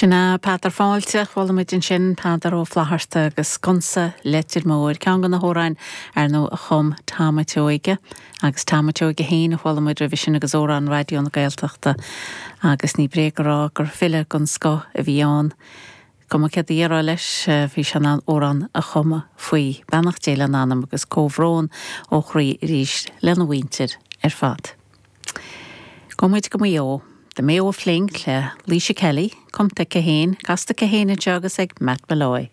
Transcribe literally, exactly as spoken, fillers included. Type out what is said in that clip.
Sin é Peadar Fáilte chuala muid ansin Peadar Ó Flatharta agus Sconsa Leitir Móir ceann de na hamhráin ar ndóigh a chum Tom a' tSeoige agus Tom a' tSeoige féin a chuala muid roimhe sin agus amhrán Raidió na Gaeltachta agus ní bréag a rá gur file den scoth a bhí ann. Cuma céard a déarfá leis bhí sé in ann amhrán a chumadh faoi beannacht Dé lena anam agus comhbhrón ó chroí arís lena mhuintir ar fad. Gabhfaidh muid go Maigh Eo. The Mayo Fling le Laoise Kelly, cumtha aici féin, casta aici féin anseo agus ag Matt Molloy.